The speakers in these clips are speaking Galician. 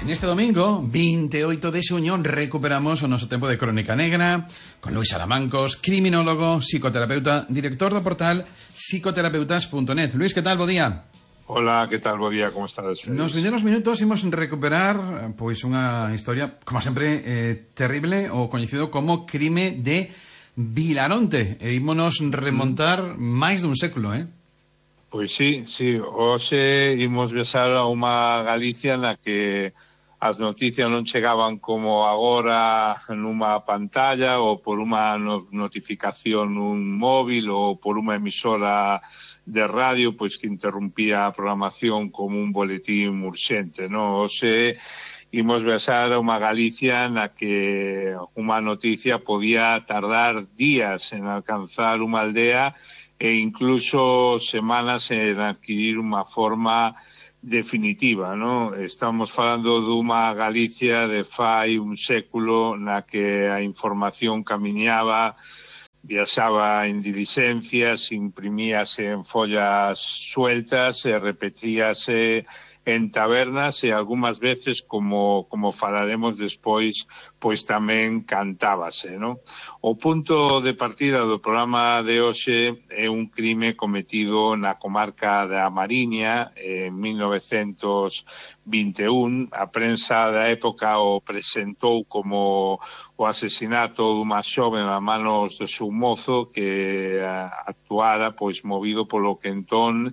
En este domingo, 28 de xuño, recuperamos o noso tempo de Crónica Negra con Luis Aramancos, criminólogo, psicoterapeuta, director do portal psicoterapeutas.net. Luis, que tal? Bo día. Hola, que tal? Bo día, como estades? Nos vindeiros minutos imos recuperar pois unha historia, como sempre, terrible, o coñecido como crime de Vilaronte. E ímonos remontar máis dun século, Pois sí. Hoxe imos viaxar a unha Galicia na que as noticias non chegaban como agora nunha pantalla ou por unha notificación nun móvil ou por unha emisora de radio pois que interrumpía a programación como un boletín urxente, non? Hoxe imos viaxar a unha Galicia na que unha noticia podía tardar días en alcanzar unha aldea e incluso semanas en adquirir unha forma definitiva, non? Estamos falando dunha Galicia de fai un século na que a información camiñaba, viaxaba en dilixencias, imprimíase en follas sueltas e repetíase en tabernas e algunhas veces, como falaremos despois, pois tamén cantábase, non? O punto de partida do programa de hoxe é un crime cometido na comarca da Mariña en 1921. A prensa da época o presentou como o asesinato dunha xoven a manos do seu mozo que actuara pois movido polo que entón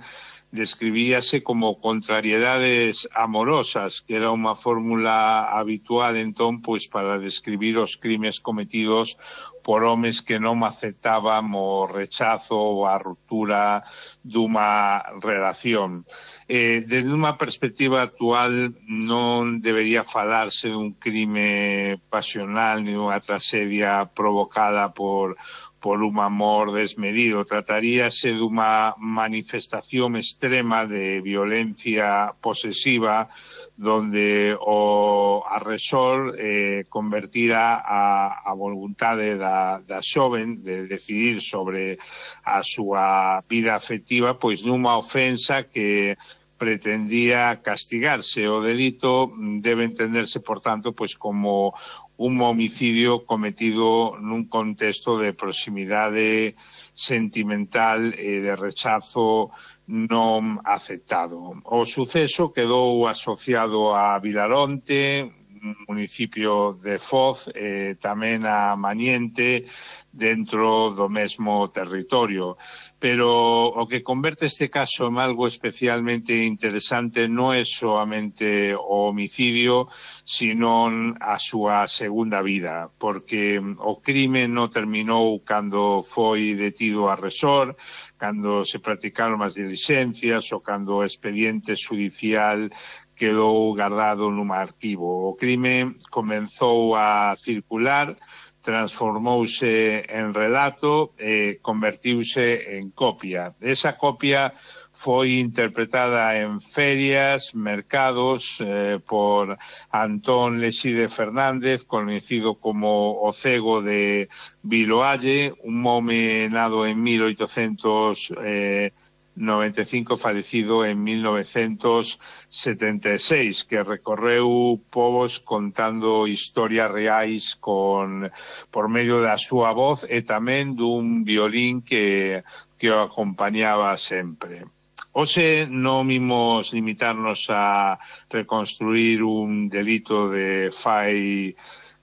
describíase como contrariedades amorosas, que era unha fórmula habitual entón pois para describir os crimes cometidos por homes que non aceptaban o rechazo ou a ruptura dunha relación. Desde unha perspectiva actual non debería falarse dun crime pasional ni dunha tragedia provocada por un amor desmedido. Trataríase dunha manifestación extrema de violencia posesiva donde o agresor convertira a voluntade da xoven de decidir sobre a súa vida afectiva pois nunha ofensa que pretendía castigarse. O delito debe entenderse, por tanto, pois como un homicidio cometido nun contexto de proximidade sentimental e de rechazo non aceptado. O suceso quedou asociado a Vilaronte, municipio de Foz, e tamén a Maniente, dentro do mesmo territorio. Pero o que converte este caso en algo especialmente interesante non é soamente o homicidio, sino a súa segunda vida, porque o crime non terminou cando foi detido o agresor, cando se practicaron as dilixencias ou cando o expediente judicial quedou guardado nun arquivo. O crime comenzou a circular, transformouse en relato e convertiuse en copia. Esa copia foi interpretada en ferias, mercados, por Antón Lexide Fernández, conocido como o Cego de Viloalle, un home nado en 1895, falecido en 1976, que recorreu povos contando historias reais por medio da súa voz e tamén dun violín que o acompañaba sempre. Hoxe non imos limitarnos a reconstruir un delito de fai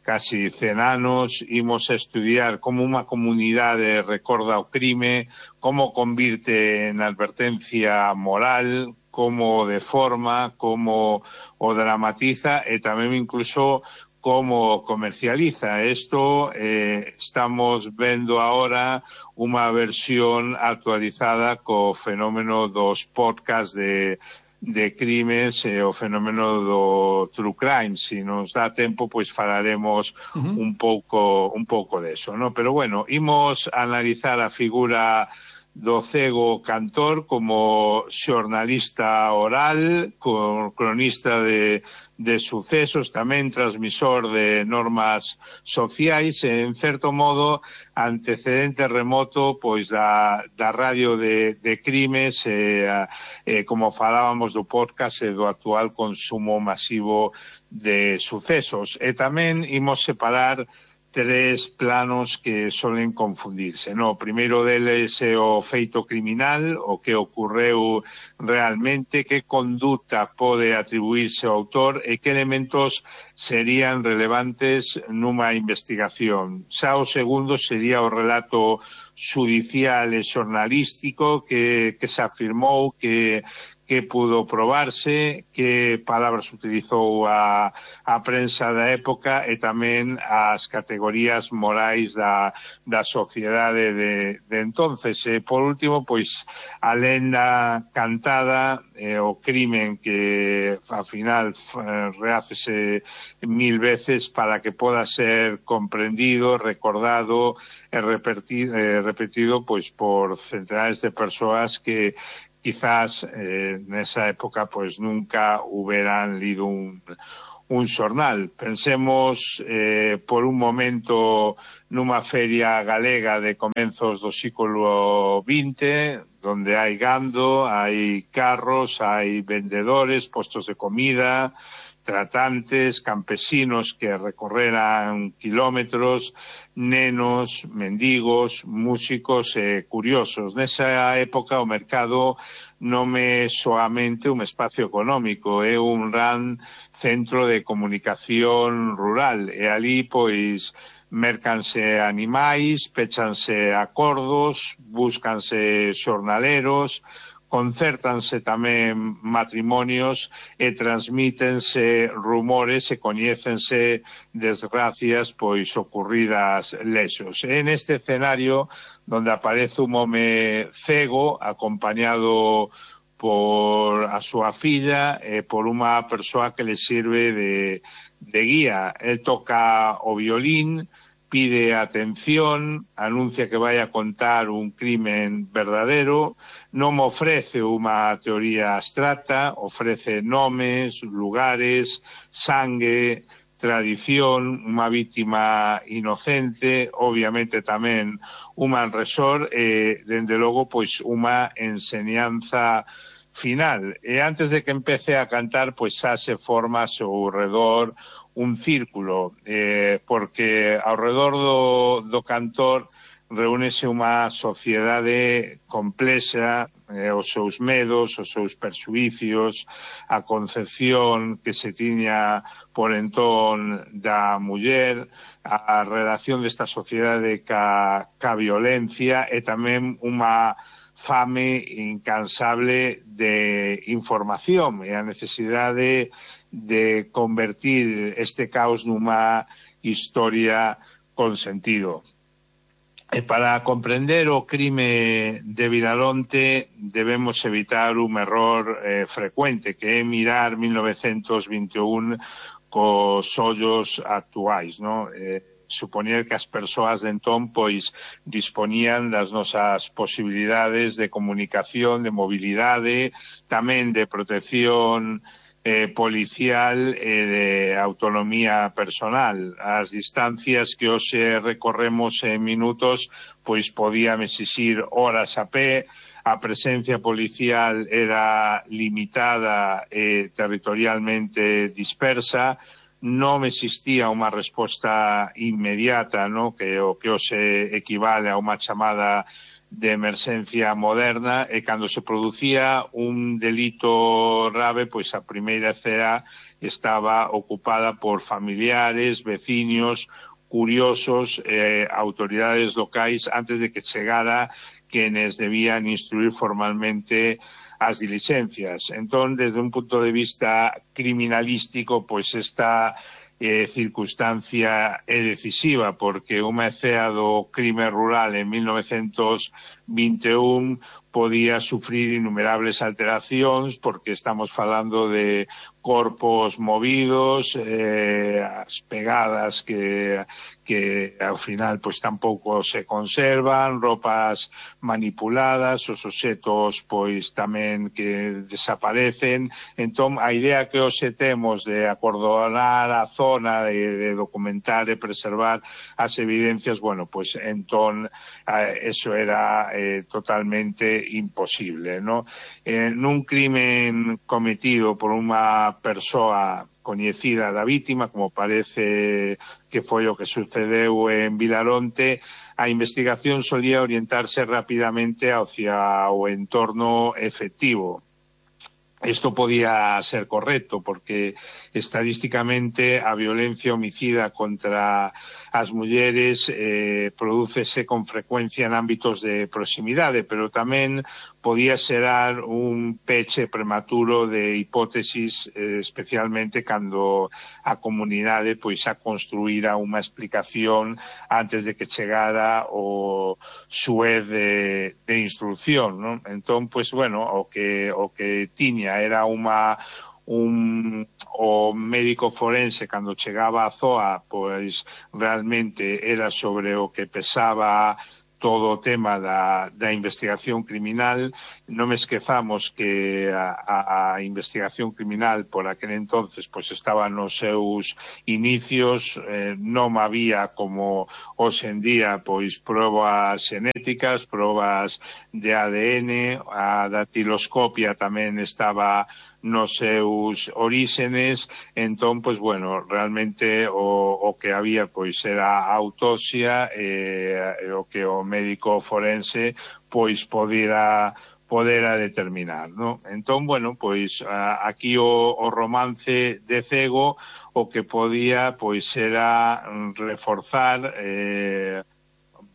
casi 100 anos, imos a estudiar como unha comunidade recorda o crime, como convirte en advertencia moral, como o deforma, como o dramatiza e tamén incluso como comercializa. Isto estamos vendo agora unha versión actualizada co fenómeno dos podcasts de crimes e o fenómeno do true crime. Si nos dá tempo, pois falaremos un pouco deso, non? Pero bueno, imos analizar a figura do cego cantor como xornalista oral, cronista de sucesos, tamén transmisor de normas sociais e, en certo modo, antecedente remoto pois da radio de crimes como falábamos do podcast e do actual consumo masivo de sucesos. E tamén imos separar tres planos que solen confundirse. O primeiro deles é o feito criminal, o que ocorreu realmente, que conduta pode atribuirse ao autor e que elementos serían relevantes nunha investigación. Xa o segundo sería o relato xudicial e xornalístico que se afirmou que pudo probarse, que palabras utilizou a prensa da época e tamén as categorías morais da sociedade de entonces. E, por último, pois, a lenda cantada, o crimen que, ao final, rehácese 1000 veces para que poda ser comprendido, recordado e repetido pois por centenares de persoas que quizás nesa época pues nunca hubieran lido un xornal. Pensemos por un momento nunha feria galega de comenzos do século XX, donde hai gando, hai carros, hai vendedores, postos de comida, tratantes, campesinos que recorreran kilómetros, nenos, mendigos, músicos e curiosos. Nesa época o mercado non é soamente un espacio económico, é un gran centro de comunicación rural e ali pois mercanse animais, pechanse acordos, búscanse xornaleros, concértanse tamén matrimonios e transmítense rumores e coñécense desgracias pois ocurridas lexos. En este escenario donde aparece un home cego acompañado por a súa filla e por unha persoa que le sirve de guía. El toca o violín, pide atención, anuncia que vai a contar un crimen verdadero, non ofrece unha teoría abstracta, ofrece nomes, lugares, sangue, tradición, unha víctima inocente, obviamente tamén un malresor e, dende logo, pois unha enseñanza final. E antes de que empece a cantar, pois xa se forma ao seu redor un círculo, porque ao redor do cantor reúnese unha sociedade complexa, os seus medos, os seus perxuicios, a concepción que se tiña por entón da muller, a relación desta sociedade ca violencia e tamén unha fame incansable de información e a necesidade de convertir este caos nunha historia con sentido. E para comprender o crime de Vilalonte debemos evitar un error frecuente, que é mirar 1921 cos ollos actuais, non? Supoñer que as persoas de entón pois dispoñían das nosas posibilidades de comunicación, de mobilidade, tamén de protección policial e de autonomía personal. As distancias que hoxe recorremos en minutos pois podían exixir horas a pé, a presencia policial era limitada e territorialmente dispersa, non existía unha resposta inmediata, ¿no? Que o que hoxe equivale a unha chamada de emerxencia moderna, e cando se producía un delito grave, pois a primeira cea estaba ocupada por familiares, veciños, curiosos, autoridades locais, antes de que chegara quenes debían instruir formalmente as dilixencias. Entón, desde un punto de vista criminalístico, pois esta circunstancia é decisiva, porque unha cea do crime rural en 1921 podía sufrir innumerables alteracións, porque estamos falando de corpos movidos, as pegadas que ao final pois tampouco se conservan, roupas manipuladas, os obxetos pois tamén que desaparecen. Entón, a idea que hoxe temos de acordonar a zona, de documentar e preservar as evidencias, bueno, pois entón eso era totalmente imposible, ¿no? Nun crimen cometido por unha persoa coñecida da vítima, como parece que foi o que sucedeu en Vilaronte, a investigación solía orientarse rapidamente hacia o entorno efectivo. Isto podía ser correcto porque estadísticamente a violencia homicida contra as mulleres prodúcese con frecuencia en ámbitos de proximidade, pero tamén podía xerar un peche prematuro de hipótesis, especialmente cando a comunidade pois a construíra unha explicación antes de que chegara o xuez de instrucción, non? Entón, pois, bueno, o que tiña era o médico forense cando chegaba á zoa, pois realmente era sobre o que pesaba todo o tema da investigación criminal. Non me esquezamos que a investigación criminal por aquel entonces pois estaba nos seus inicios, non había como hoxe en día pois probas xenéticas, probas de ADN, a datiloscopia tamén estaba nos seus oríxenes. Entón, pois, bueno, realmente o que había pois era a autopsia, o que o médico forense pois podera determinar, ¿no? Entón, bueno, pois aquí o romance de Cego o que podía pois era reforzar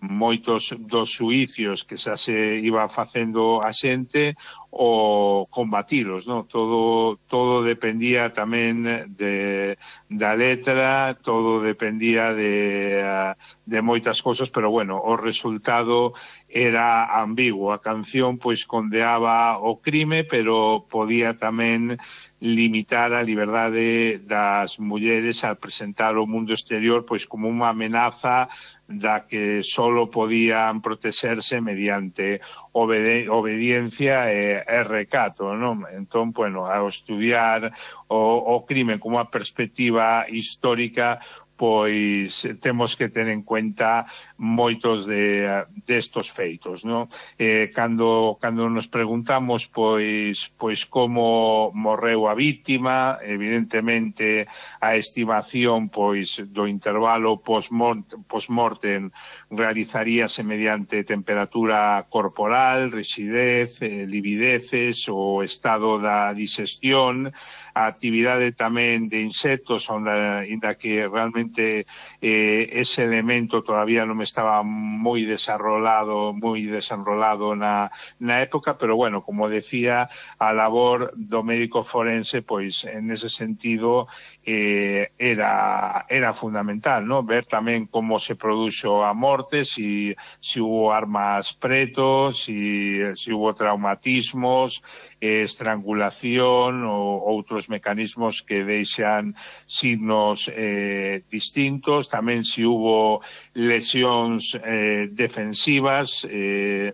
moitos dos xuicios que xa se iba facendo a xente o combatilos, ¿no? Todo dependía tamén da letra, todo dependía de moitas cousas, pero bueno, o resultado era ambiguo. A canción pois condeaba o crime, pero podía tamén limitar a liberdade das mulleres al presentar o mundo exterior pois como unha amenaza da que solo podían protexerse mediante obediencia e recato, non? Entón, bueno, ao estudiar o crime como unha perspectiva histórica, pois temos que ter en cuenta moitos destos feitos, non? Cando nos preguntamos pois como morreu a vítima, evidentemente a estimación pois do intervalo post-mortem realizaríase mediante temperatura corporal, rixidez, livideces, o estado da digestión, a actividade tamén de insectos, inda que realmente ese elemento todavía non estaba moi desenrolado na época, pero bueno, como decía, a labor do médico forense, pois en ese sentido era fundamental, ¿no? Ver tamén como se produxo a morte, si hubo armas preto, si hubo traumatismos, estrangulación ou outros mecanismos que deixan signos distintos. Tamén se hubo lesións defensivas,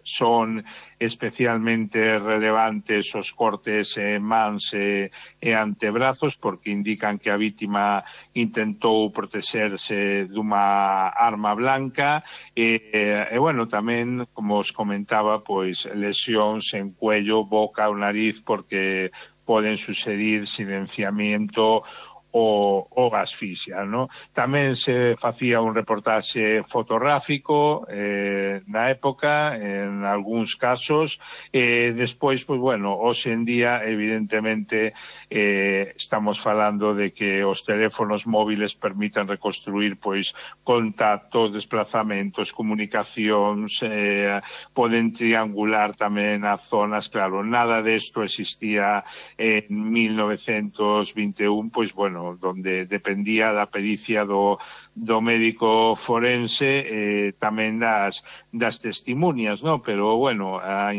son especialmente relevantes os cortes en mans e antebrazos, porque indican que a vítima intentou protexerse dunha arma blanca, e bueno, tamén, como os comentaba, pois lesións en cuello, boca ou nariz, porque poden suceder silenciamiento o asfixia, ¿no? Tamén se facía un reportaxe fotográfico na época, en algúns casos, despois, pois, bueno, hoxe en día, evidentemente, estamos falando de que os teléfonos móviles permitan reconstruir, pois, contactos, desplazamentos, comunicacións, poden triangular tamén as zonas. Claro, nada desto existía en 1921, pois, bueno, donde dependía da pericia do médico forense, tamén das testimonias, ¿no? Pero, bueno, a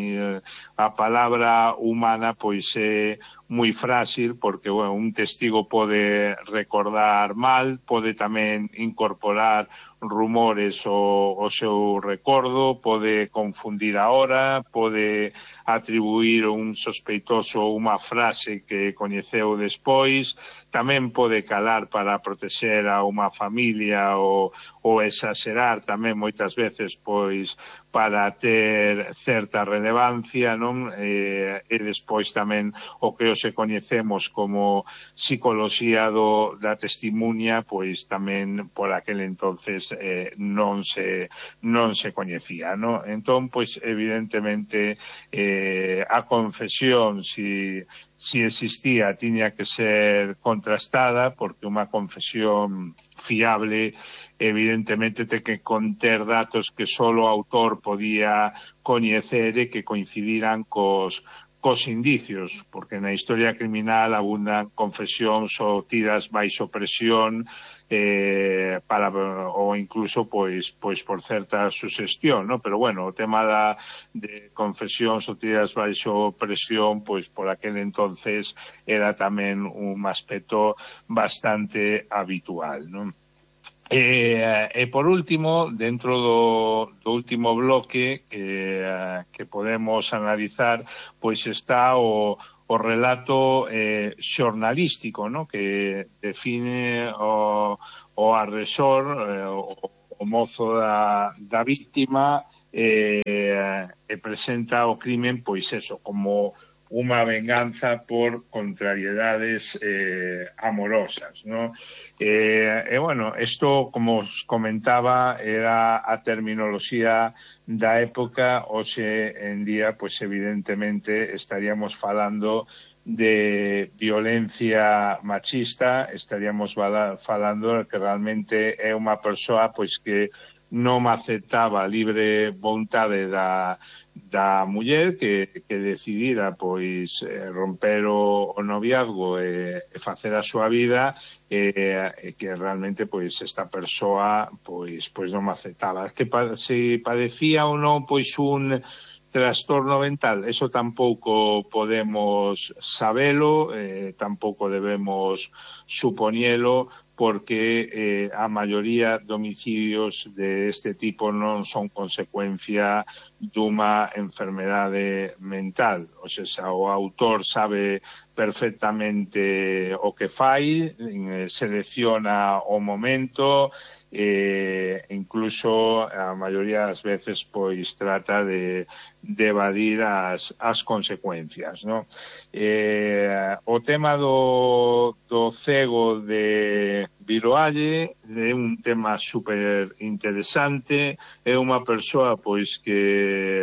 palabra humana pois é moi frágil, porque, bueno, un testigo pode recordar mal, pode tamén incorporar rumores ao seu recordo, pode confundir a hora, pode atribuir un sospeitoso unha frase que coñeceu despois, tamén pode calar para protexer a unha familia ou exagerar tamén moitas veces pois para ter certa relevancia, non? E despois tamén o que se coñecemos como psicoloxía da testimuña, pois tamén por aquel entonces non se coñecía, non? Entón, pois evidentemente a confesión, si existía, tiña que ser contrastada, porque unha confesión fiable evidentemente ten que conter datos que só o autor podía coñecer e que coincidiran cos indicios, porque na historia criminal abundan confesións obtidas baixo presión ou incluso pois por certa suxestión, ¿no? Pero bueno, o tema de confesións obtidas baixo presión, pois por aquel entonces era tamén un aspecto bastante habitual, ¿no? E por último, dentro do último bloque que podemos analizar, pois está o relato xornalístico, ¿no? Que define o agresor, o mozo da víctima, e presenta o crimen, pois eso, como unha venganza por contrariedades amorosas, ¿no? Bueno, isto, como os comentaba, era a terminoloxía da época. Hoxe en día, pois evidentemente estaríamos falando de violencia machista, estaríamos falando que realmente é unha persoa pois que non aceptaba a libre vontade da muller que decidira pois romper o noviazgo e facer a súa vida, e que realmente pois esta persoa pois non aceptaba. Que se padecía ou non pois un trastorno mental, eso tampouco podemos sabelo, tampouco debemos supoñelo, porque a maioría de homicidios de este tipo non son consecuencia dunha enfermedade mental. O sea, o autor sabe perfectamente o que fai, selecciona o momento, incluso a maioría das veces pois trata de evadir as consecuencias, ¿no? O tema do cego de Viloalle é un tema super interesante. É unha persoa pois que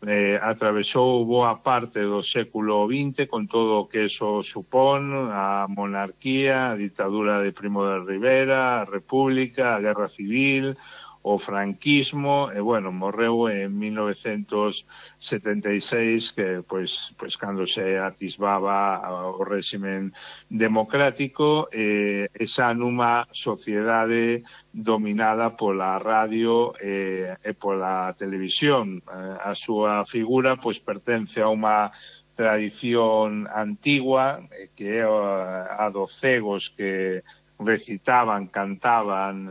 atravesou boa parte do século XX con todo o que eso supón, a monarquía, a ditadura de Primo de Rivera, a república, a guerra civil, o franquismo, e bueno, morreu en 1976, que pois cando se atisbaba o réximen democrático, esa nunha sociedade dominada pola radio e pola televisión. A súa figura pois pertence a unha tradición antigua, que é a dos cegos que recitaban, cantaban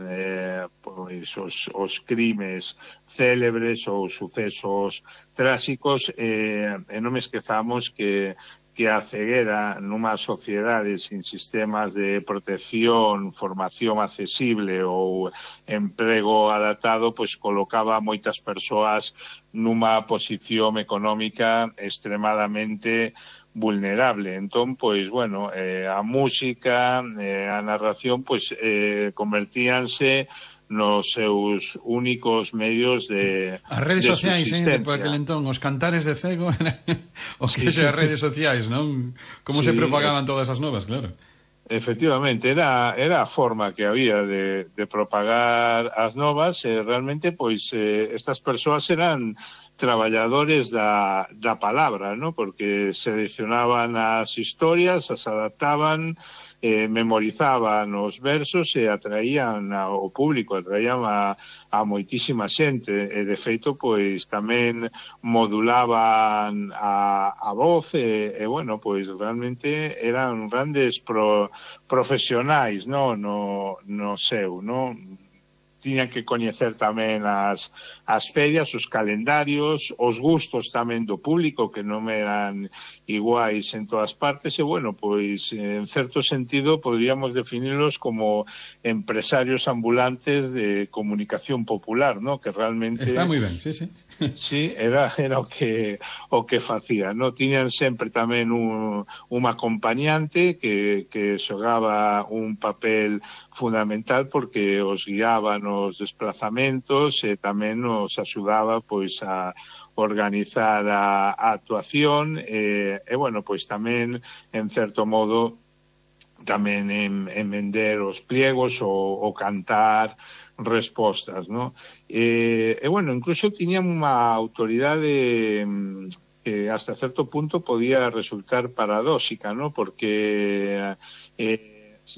pois os crimes célebres ou sucesos tráxicos, e non me esquezamos que a ceguera nunha sociedade sin sistemas de protección, formación accesible ou emprego adaptado, pois colocaba moitas persoas nunha posición económica extremadamente vulnerable. Entón, pois, bueno, a música, a narración, pois, convertíanse nos seus únicos medios de as redes sociais, por aquel entón, os cantares de cego, o que sí. As redes sociais, non? Como sí, se propagaban todas as novas, claro. Efectivamente, era a forma que había de propagar as novas, e realmente, pois, estas persoas eran traballadores da palabra, ¿no? Porque seleccionaban as historias, as adaptaban, memorizaban os versos e atraían ao público, atraían a moitísima xente, e de feito pois tamén modulaban a voz e bueno, pois realmente eran grandes profesionais, no seu, no? Tiñan que coñecer tamén as ferias, os calendarios, os gustos tamén do público, que non eran iguais en todas partes, e, bueno, pois, en certo sentido, podríamos definirlos como empresarios ambulantes de comunicación popular, ¿no? Que realmente... Está moi ben, sí. Sí, era o que facía, no? Tiñan sempre tamén un acompañante que xogaba un papel fundamental porque os guiaba nos desplazamentos e tamén nos axudaba pois a organizar a actuación e bueno, pois tamén en certo modo tamén en vender os pliegos ou cantar respostas, ¿no? E bueno, incluso tiñan unha autoridade que hasta certo punto podía resultar paradóxica, ¿no? Porque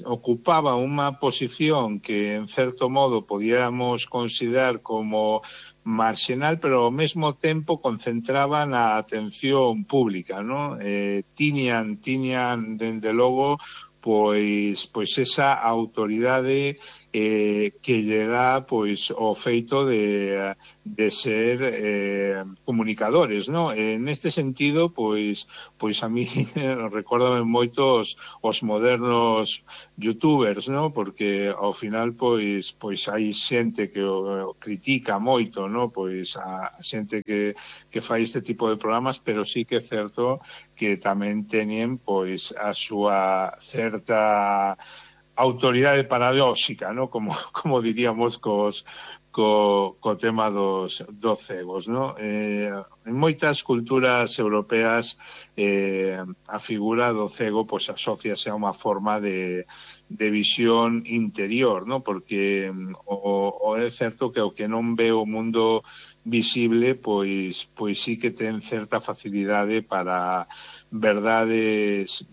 ocupaba unha posición que en certo modo podíamos considerar como marxinal, pero ao mesmo tempo concentraban a atención pública, ¿no? Tiñan dende logo pois esa autoridade que lle dá pois o feito de ser comunicadores, ¿no? Neste sentido, pois a mí recórdame moito os modernos youtubers, ¿no? Porque ao final pois hai xente que o critica moito, ¿no? Pois a xente que fai este tipo de programas, pero sí que é certo que tamén teñen pois a súa certa autoridade paradóxica, ¿no? Como diríamos co tema dos cegos, ¿no? En moitas culturas europeas a figura do cego pois asóciase a unha forma de visión interior, ¿no? Porque o é certo que o que non ve o mundo visible, pois sí que ten certa facilidade para verdades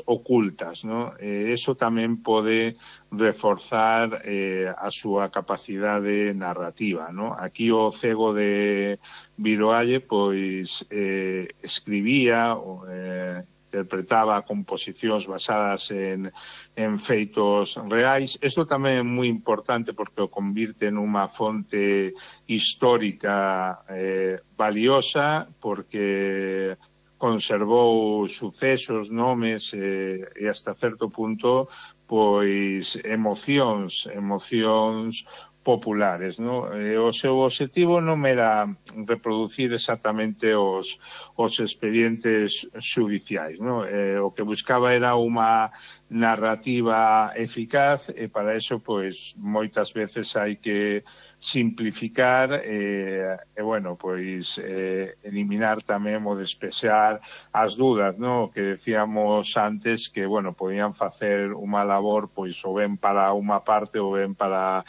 ocultas, ¿no? Eso tamén pode reforzar a súa capacidade narrativa, ¿no? Aquí o cego de Viroalle, pois escribía, interpretaba composicións basadas en feitos reais. Isto tamén é moi importante porque o convirte nunha fonte histórica valiosa, porque conservou sucesos, nomes e hasta certo punto pois emocións populares, ¿no? O seu objetivo non era reproducir exactamente os expedientes xudiciais, ¿no? O que buscaba era unha narrativa eficaz e para eso, pois, moitas veces hai que simplificar e bueno, pois eliminar tamén ou despexar as dúdas, ¿no? Que decíamos antes que, bueno, podían facer unha labor pois ou ben para unha parte ou ben para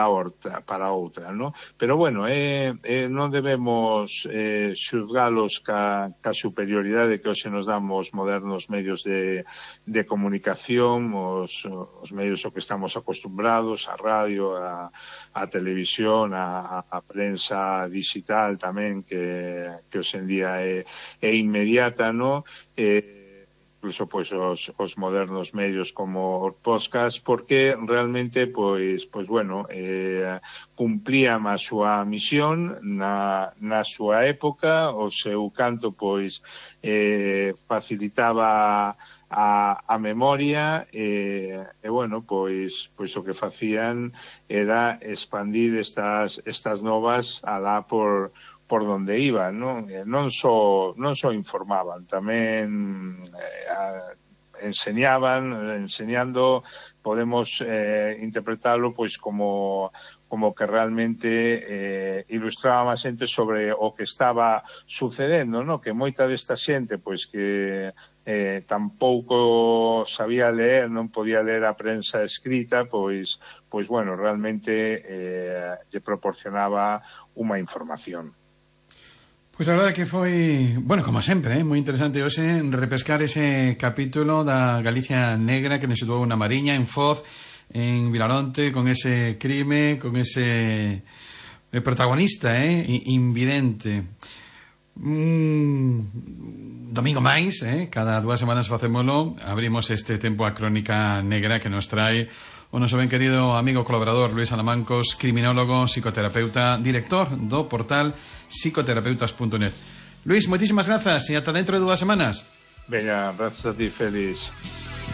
outra, ¿no? Pero bueno, non debemos xuzgalos ca superioridade que hoxe nos dan os modernos medios de comunicación, os medios ao que estamos acostumbrados, a radio, a televisión, a prensa digital tamén, que hoxe en día é inmediata, ¿no? Incluso pois os modernos medios como os podcast, porque realmente pois bueno, cumplían a súa misión na súa época, o seu canto pois facilitaba a memoria e bueno, pois o que facían era expandir estas novas alá por donde iban, ¿no? Non só informaban, tamén enseñando, podemos interpretarlo pois como que realmente ilustraba a xente sobre o que estaba sucedendo, ¿no? Que moita desta xente pois que tampouco sabía leer, non podía ler a prensa escrita, pois bueno, realmente lle proporcionaba unha información. Pois a verdade que foi, bueno, como sempre, moi interesante hoxe repescar ese capítulo da Galicia negra que nos situou na Mariña, en Foz, en Vilaronte, con ese crime, con ese protagonista, invidente. Domingo máis, cada 2 semanas facémolo, abrimos este tempo a crónica negra que nos trae o noso ben querido amigo colaborador Luis Alamancos, criminólogo, psicoterapeuta, director do portal psicoterapeutas.net. Luis, moitísimas grazas e ata dentro de 2 semanas. Venga, grazas a ti, Félix.